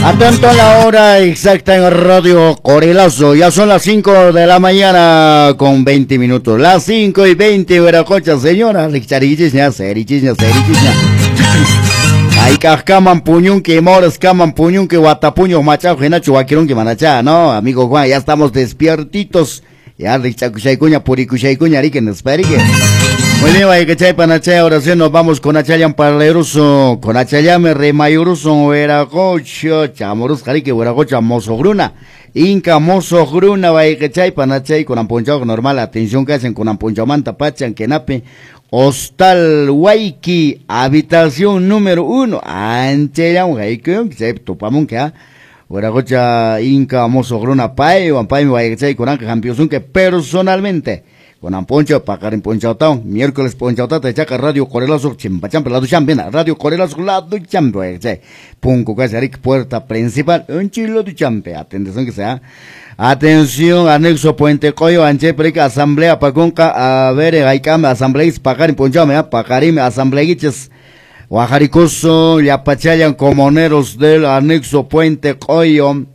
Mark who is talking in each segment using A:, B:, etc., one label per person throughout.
A: Atento a la hora exacta en Radio Corelazo. Ya son las 5 de la mañana con 20 minutos. Las 5:20, Veracocha, señora. Richarichis, serichis, serichis. Ay, kaman puñunque, mores, kaman puñunque, guatapuño, machajo, genacho, waquirunque, manacha, ¿no? Amigo Juan, ya estamos despiertitos. Ya, richacuchaycuña, puricuchaycuña, riquen, esperique. Muy bien, vaya que chay panachay, ahora sí nos vamos con Achayam Parleruso, con Achayame Remayuruso, Veracocho, Chamorus, Jarique, Veracocha, Mozogruna, Inca Mozogruna, vaya que chay panachay, con amponchao normal, atención que hacen con amponchao manta, pachan, kenape, Hostal Waiki, habitación número 1, Ancheyam, Jaikun, tupamun que, Veracocha, Inca Mozogruna, Pay, Pay, vaya que chay, con Anca, que personalmente. Con Amponcho, Pacarín Ponchautao, miércoles Ponchautata, Chaca, Radio Corelazo, Chimpachampe, Lado Champena, Radio Corelazo, Lado Champe, Punco, Casarik, puerta principal, un chilo de champe, atención que sea. Atención, anexo Puente Coyo, Ancheprica, Asamblea, Pacunca, a ver, Aicame, Asamblea, Pacarín Ponchame, Pacarim, Asamblea, Guajaricoso, Yapachayan, comuneros del anexo Puente Coyo,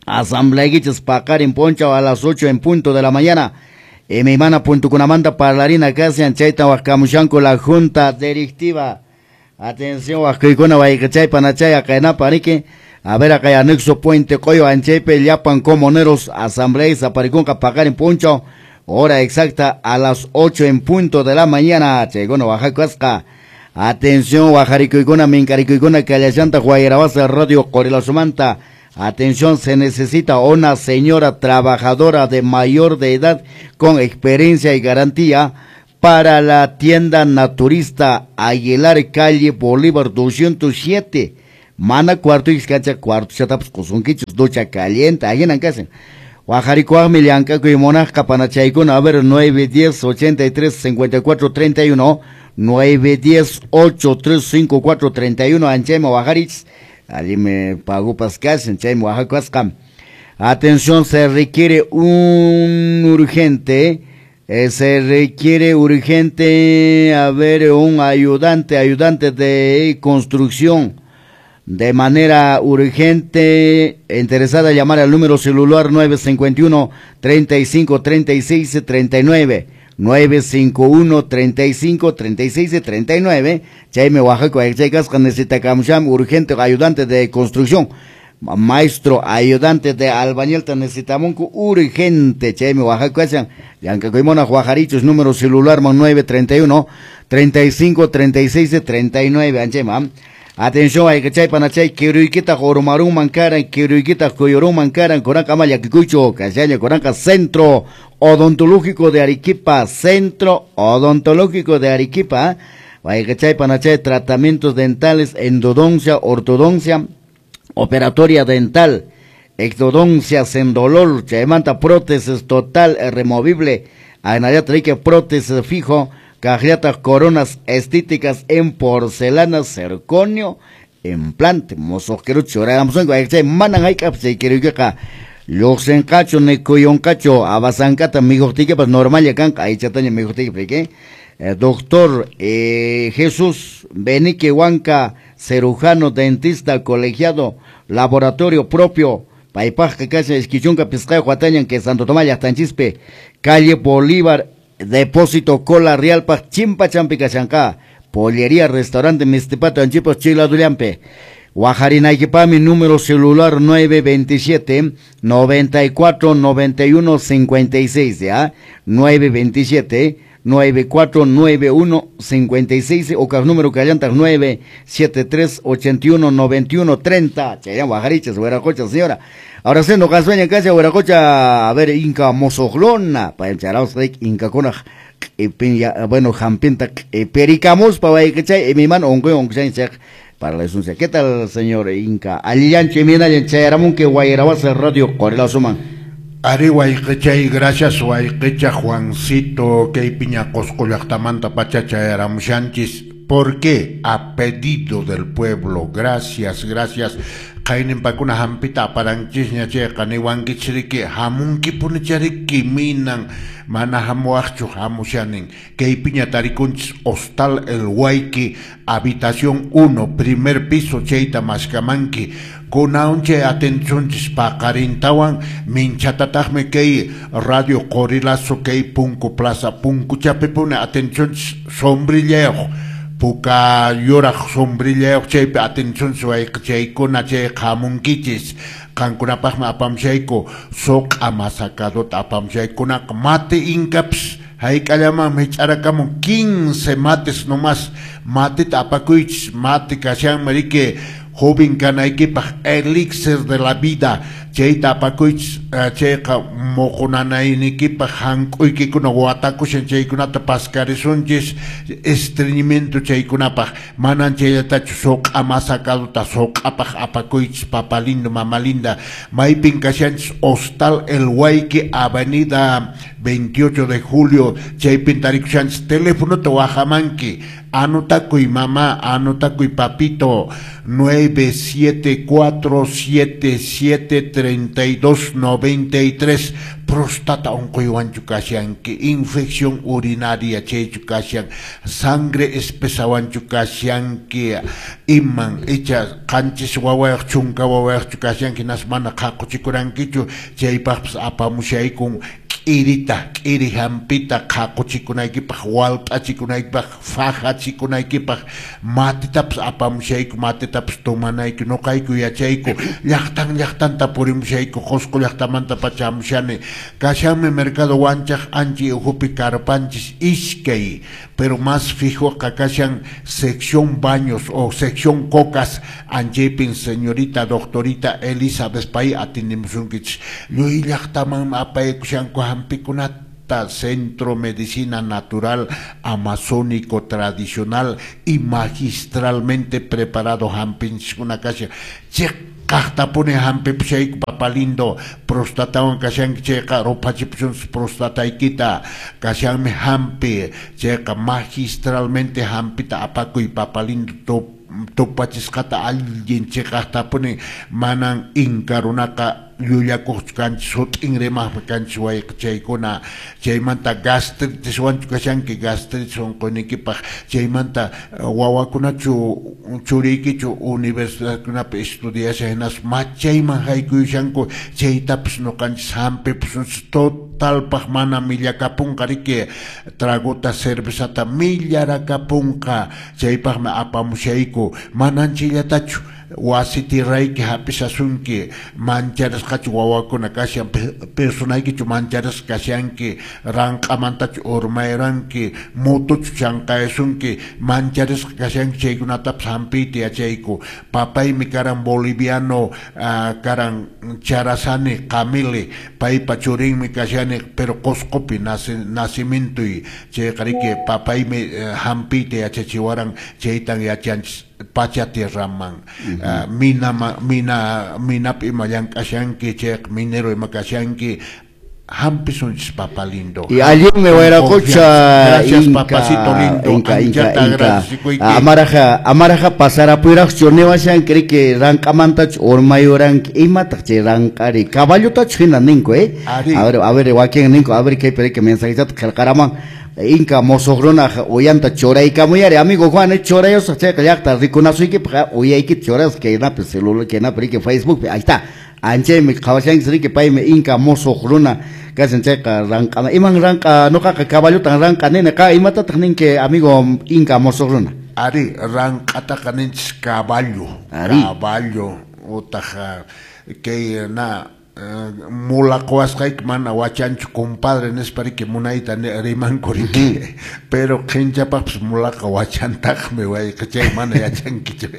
A: Asamblea, Pacarín Ponchao a las 8 en punto de la mañana. Mi mana punto kunamanta parlarina casi chayta huascamushanco la junta directiva. Atención, huascuicuna guaycachay panachay acaenapa rique. A ver acá anexo Puente Coyo Anchepe Yapan comuneros asamblea Zaparicunca Pacarín Poncho. Hora exacta a las 8 en punto de la mañana. Chegono Oaxaca. Atención, Guajaricuicuna, Mincaricuicuna, Cayachanta, Guayarabasa, Radio Corelazumanta. Atención, se necesita una señora trabajadora de mayor de edad con experiencia y garantía para la tienda naturista Aguilar, calle Bolívar 207. Mana cuarto y escacha cuarto, chataps, cosunquichos, ducha caliente, ahí en casa. Guajaricuagmi, Liancaco y Monasca, Panachaicuna, a ver, 910 83 54 31, 910 83 54 31, Anchema, Guajarich. Allí me pagó Pascal, Atención, se requiere un urgente, a ver, un ayudante de construcción de manera urgente, interesada llamar al número celular 951 35 36 39. 951 35 36 39. Chayme Oaxaca, necesita camusham urgente ayudante de construcción, maestro ayudante de albañil, necesitamos urgente. Chayme Oaxaca, Yancacoimona, Guajarichos, número celular 931 35 36 39. Anchema. Atención, hay que chay panachay, kiruikita jorumarun mancaran, kiruikita coyorun mancaran, coranca maya kikucho, cachaya, coranca Centro Odontológico de Arequipa, Centro Odontológico de Arequipa, hay que chay panachay, tratamientos dentales, endodoncia, ortodoncia, operatoria dental, exodoncia sin dolor, chaymanta prótesis total removible, anaya prótesis fijo, cajiatas, coronas estéticas en porcelana, circonio, implante, mozoquerucho, manan hay capse, quiero Lluqsinqachu, nikuyunqachu, abasankata mijuqtiykipas normal kanqa, aychataña mijuqtiyki, Doctor Jesús Benique Huanca, cirujano, dentista, colegiado, laboratorio propio, paypaqqa kashan iskichunka pisqayuq watañan que Santo Tomás llaqtanchispi, calle Bolívar, depósito Cola Realpaq, Chimpa Champi kashanqa, pollería, restaurante Mistipato, Anchipos, Chiladullampe. Guajarinaykipami, número celular 927 94 91 56, ¿ya? 927 94 91 56, o número callanta 973 81 91 30. Chayan Guajariches, Hueracocha, señora. Ahora sí, no casueña en casa, Hueracocha, a ver, Inca Mozoglona, para encharaos, Inca Conaj, bueno, Jampinta, Pericamos, para que mi mano, para la esencia. ¿Qué tal, señor Inca? Alillancho, Minayan, Chayaramun, que Guayarabasa, Radio Corelazuman.
B: Ari wayqichay, gracias wayqicha Juancito, que piña Cosco llaqtamanta pacha chayaramushanchis. ¿Por qué? A pedido del pueblo. Gracias, gracias. Qayninpakuna hampita aparanchisña chayqa niwankichis hamunkipunicha riki minan mana hamuwaqchu hamushanin. Kaypiña tarikunchis Hostal El Huayqui, habitación 1, primer piso, chayta maskamanki. Kunaunche atencionchis paqarintawan minchatataqmi kay Radio Qorilazo kay Punku Plaza Punkuchapipuni atencionchis sombrillayuq puka yuraq sombrillayuq chaypi atencionchis wayqichaykuna chay hamunkichis. Qankunapaqmi apamshayku suq'a masacadota apamshaykunaqa mate inkapas hayk'allamanmi hich'arakamun 15 mates nomás mateta apakuychis mate kashanmi riki joven kanaykipaq elixir de la vida chayta apakuychis chayqa muqunanaynikipaq hank'uykikuna watakushan chaykunata paskarisunchis estreñimiento chaykunapaq manan chayllatachu suq'a masacadota suq'apaq apakuychis papa lindo mama linda. Maypin kashanchis Hostal El Huayqui, avenida 28 de julio chaypin tarikushanchis. Telefonota wajamanki, anotakuy mamá, anotakuy papito, 974773293. Prostata unquywanchu kashanki, infección urinaria chaychu kashan, sangre espesawanchu kashanki, iman icha qanchis wawayuq chunka wawayuqchu kashanki nas mana qhaquchikurankichu chaypaqpas apamushaykun k'irita k'iri hampita qhaquchikunaykipaq walt'achikunaykipaq fajachikunaykipaq matitapas apamushayku matitapas tomanayku nuqayku yachayku llaqtan llaqtanta purimushayku Qusqu llaqtamanta pacha hamushani. Kashanmi mercado Wanchaq anchi uhupi karpanchis iskay, pero más fijoqa kashan sección baños o sección cocas anchaypin señorita doctorita Elizabeth pay atindimusunkichis. Lluy llaqtaman apaykushanku hampikunata Centro Medicina Natural Amazónico Tradicional y magistralmente preparado hampinchiskuna kashan. Chiqaqtapuni hampipushayku papa lindo prostatawan kashanki chayqa ruphachipusunchis prostataykita kashanmi hampi chayqa magistralmente hampita apakuy papa lindo tupachisqata allin chiqaqtapuni manan inka runaqa llullakuqchu kanchis sut'in rimaqmi kanchis wayqichaykuna. Chaymanta gastritiswanchu kashanki gastritis unquyniykipaq chaymanta wawakunachu churiykichu universidadkunapi estudiashan hinaspa machayman haykuyushanku chaytapas nuqanchis hampipusunchis totalpaq mana millakapunqa riki tragota cervezata millarakapunqa chaypaqmi apamushayku manan chayllatachu wasi tirayki hapishasunki mancharisqachu wawakuna kashan personaykichu mancharisqa kashanki ranq'amantachu urmayranki motochu chanqayasunki mancharisqa kashanki chaykunatapas hampiyta yachayku. Papaymi karan boliviano karan Charazani Qamili paypa churinmi kashani pero Qusqupi nacimientoy chayqa riki papaymi hampiyta yachachiwaran chaytan yachanchis pacha tierraman minapi ima llank'ashanki chayqa minero ima kashanki hampisunchis papa lindo.
A: Y allinmi wayraqucha.
B: Gracias papacito lindo.
A: Inka inka inka amaraja pasarapuyrachu niwashanki riki ranq'amantachu urmayuranki imataq chay ranq'ari caballotachu hina ninku a ver wakin ninku a ver kaypi riki mensajechata qillqaraman Inka mosuq runaq uyanta churaykamuyari amigo Juan churayusaq chayqa llaqta rikunasuykipaq uyaykita churasaq kaynapi celular kaynapi riki Facebookpi ahí está anchaymi qhawashanchis riki paymi inka mosuq runa kashan chayqa ranq'ana iman ranq'a nuqaqa caballotan ranq'a nini qa imatataq ninki amigo inka mosuq runa.
B: Ari ranq'ataqa ninchis caballo caballo utaq kay na mula quwasqayki mana wachanchu compadre nispa riki munayta rimanku riki pero qhinchapaqpas mulaqa wachantaqmi wayqichay mana yachankichu.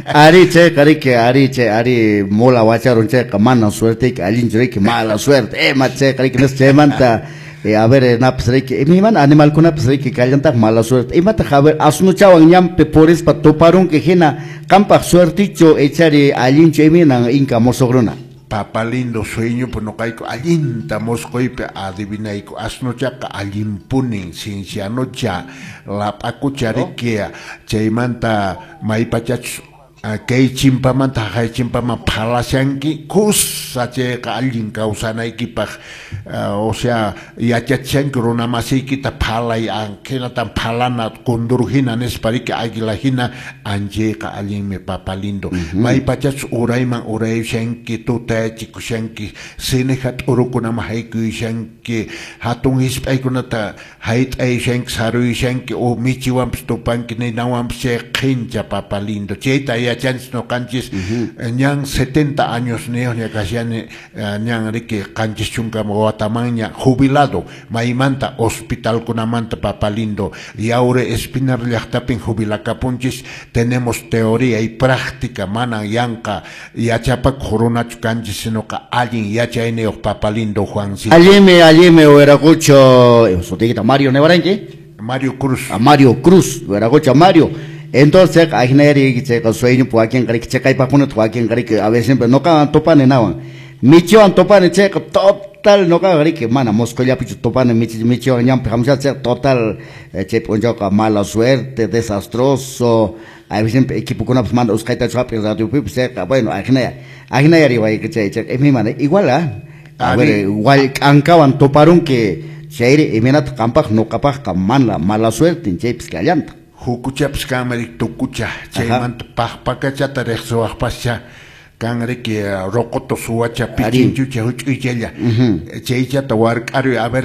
A: Ari chayqa riki ari chay ari mula wacharun chayqa mana suerteyki allinchu riki mala suerte ima chayqa riki nispa chaymanta a ver napas riki imaymana animalkunapas riki kallantaq mala suerte imataq a ver asnuchawan ñanpi purispa tuparunki hina qampaq suertichu ichari allinchu imaynan inka musuq runa.
B: Papa lindo sueño pues nuqayku allinta musquypi adivinayku asnuchaqa allinpunin ciencianocha lap'akucha riki chaymanta maypachachus Kay chimpamanta haqay chimpaman phalashanki kusa chayqa allin kawsanaykipaq, o sea yachachishanki runa masiykita phalay hinatan phalana kundur hina nispa riki águila hina anchayqa allinmi papa lindo. Maypachachus urayman urayushanki tutayachikushanki sineja t'urukunaman haykuyushanki hatun hisp'aykunata hayt'ayushanki saruyushanki o michiwanpis tupanki ninawanpis chay qhincha papa lindo chayta yachanchis noqanchis ñan 70 años niyuqña kashani ñan riki 70 watamanña jubilado maymanta hospitalkunamanta papa lindo Yaure Espinar llaqtapin jubilakapunchis tenemos teoría y práctica manan yanqa yachapakuq runachu kanchis sinoqa allin yachayniyuq papa lindo Juancito.
A: Allinmi allinmi wiraqucho sutiykita Mario Nevaranki
B: Mario Cruz.
A: A Mario Cruz wiraqucho Mario. Entonces, ajneri chayqa sueño wakin riki chaqaypaqkunata wakin riki a veces siempre noqawan tupani nawan michiwan tupani chayqa total noqawan riki mana Moscollapichu tupani michiwan ñanpi hamusha chayqa total chay p'unchawqa mala suerte desastroso a veces siempre equipokunapas mana usqhaytachu hap'in radiopipis chayqa bueno ajnaya ajnayari wayqa chay chayqa imana igual a ver igual k'ankawan tuparunki chayri imaynataq qampaq noqapaqqa mana mala suerte chaypis kallanta.
B: Hukuchapis kanmi riki tukucha chaymanta paqpakachata riqsiwaqpascha kan riki roqoto suwacha pichinchucha huch'uychalla chaychata wark'aruy a ver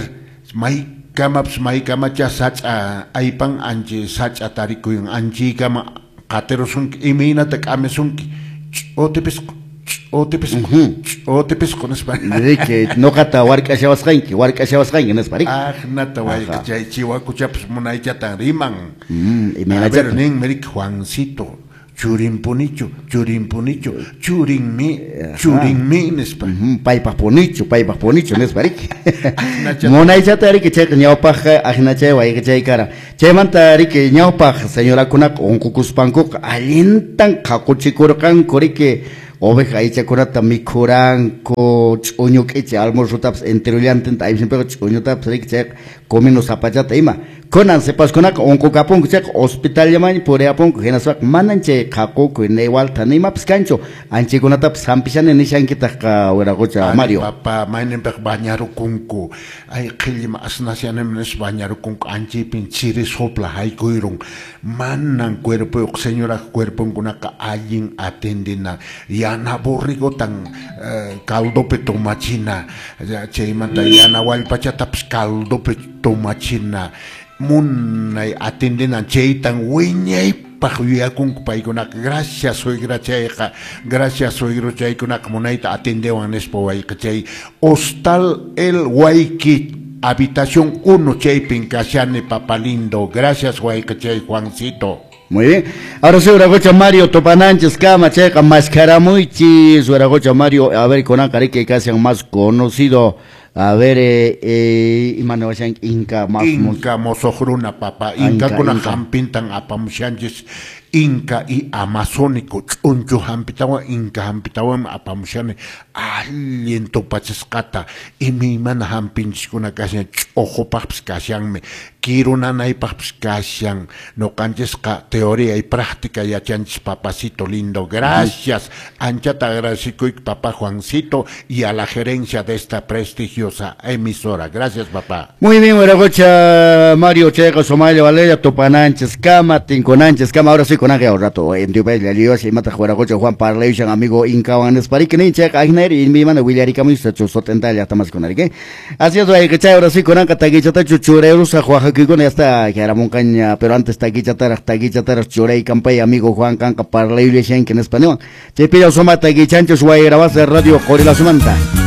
B: maykamapis maykamacha sach'a aypan anchi sach'a tarikuyun anchiykama qatirusunki imaynata k'amisunki ch'utipisqu ch'utipisqu ch'utipisqu nispa
A: riki noqata wark'ashawasqanki wark'ashawasqanki nispa riki
B: aqnata wayqa chay chiwakuchapas munaychatan riman
A: imaynachata
B: ninmi riki Juancito churinpunichu churinpunichu churinmi churinmi nispa
A: paypaq punichu nispa riki munaychata riki chayqa ñawpaqqa aqnachay wayqa chay kara chaymanta riki ñawpaq señorakunaqa unqukuspankuqa allintan qhaquchikurqanku riki oveja aychakunata mikhuranku ch'uñu k'ichi almuerzutapas enterollantinta aysinpiqa ch'uñutapas riki chayqa comino zapachata ima kunan sipaskunaqa unqukapunku chayqa hospitallamanña puriyapunku hinaspaqa manan chay qhaqukuy niwalta nimapas kanchu anchaykunatapas hampishani nishankitaqqa wiraqucha Mario.
B: Papa mayninpiqa bañarukunku ay qhillima asnasyanimi nispa bañarukunku anchaypin chiri sopla haykuyrun manan cuerpoyuq señoraq cuerponkunaqa allin atendina yana borrigotan caldopi tomachina chaymanta yana wallpachatapas caldopi tomachina munay atendina chaytan wiñaypaq yuyakunku paykunaqa gracias suegra chayqa gracias suegro chaykunaqa munayta atendewan nispa wayqa chay hostal El Huayqui habitación 1 chaypin kashani papa lindo gracias wayqa chay Juancito.
A: Muy bien. Ahora sí, Wiraqucha Mario, tupananchis kama chayqa maskharamuychis Wiraqucha Mario, a ver kunanqa riki kashan más conocido. A ver, imana washan Inca más
B: Inca mosoqruna papa, Incakuna hampintan apamushanchis Inca y amazónico ch'unchu hampitawan Inca hampitawan apamushani allin tupachisqata imaymana hampinchiskuna kashan ch'uqupaqpis kashanmi kiru nanaypaqpis kashan noqanchisqa teoría y práctica yachanchis papacito lindo gracias anchata agradecikuyki papá Juancito y a la gerencia de esta prestigiosa emisora gracias papá.
A: Muy bien wiraqucha Mario chayqa Somalia Valeria tupananchis kama tinkunanchis kama ahora sí con un rato en tu país la lios y mata wiraqucha Juan parlayushan amigo Incawan nispa riki nin chayqa ajnari imimana willarikamuy sotenta llaqtamas kunariki así es wayqichay ahora sí kunanqa takichatachu churayrusa waqakuykuna ya está jaramunqaña pero antes takichataraq churaykanpay amigo Juan kanqa parlayullashanki nispa niwan chaypilla suma takichanchus wayrabasa radio Qorilazumanta.